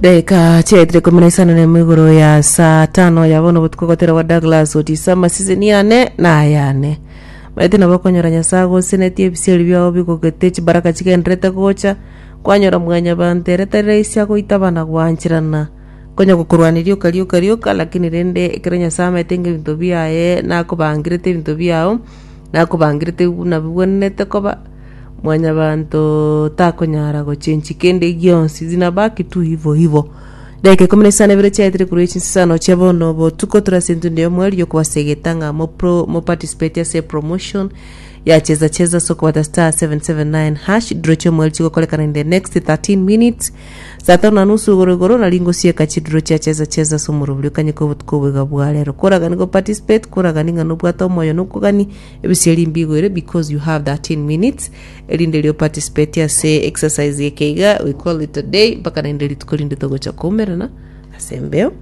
Chidaeka chiaetire 15 igoro ya saa tano ya bono botuko gotera gwa Douglas Otiso amaseseni yane na ayane. Maete nabo okonyora Nyasae agosenetie ebisieri biao bigogete chibaraka chigendererete gocha, kwanyora mwanyabanto ere tari rahisi agoitaba na gwancherana konya gokorwania rioka rioka rioka lakini rende ekero Nyasae amaete ng'a ebinto biaye nakobangerete ebinto biao, nakobangerete buna bibwenerete koba. Mwanyabanto takonyara gochenchia kende gionsi, zinabaki tu hivo hivo. Dakika 12 chiaetire korwa echinsesano chia bono botuko tore ase entundo y'omweri y'okobasegeta ng'a mopro moparticipate ase epromotion ya cheza cheza ase okobata star 779 hash draw chi'omweri chigokorekana in the next 13 minutes saa tano na nusu igoro igoro nari ngosieka chidraw chia cheza cheza ase omorobori okanyeka obotuko oboiga bwa rero koragani go participate koragani ng'a nobwate omoyo nokogani Ebisieri mbigoire because you have 13 minutes erinde erio participate ase exercise eke iga we call it a day mpaka naende rituko rinde togocha koumerana ase embeo.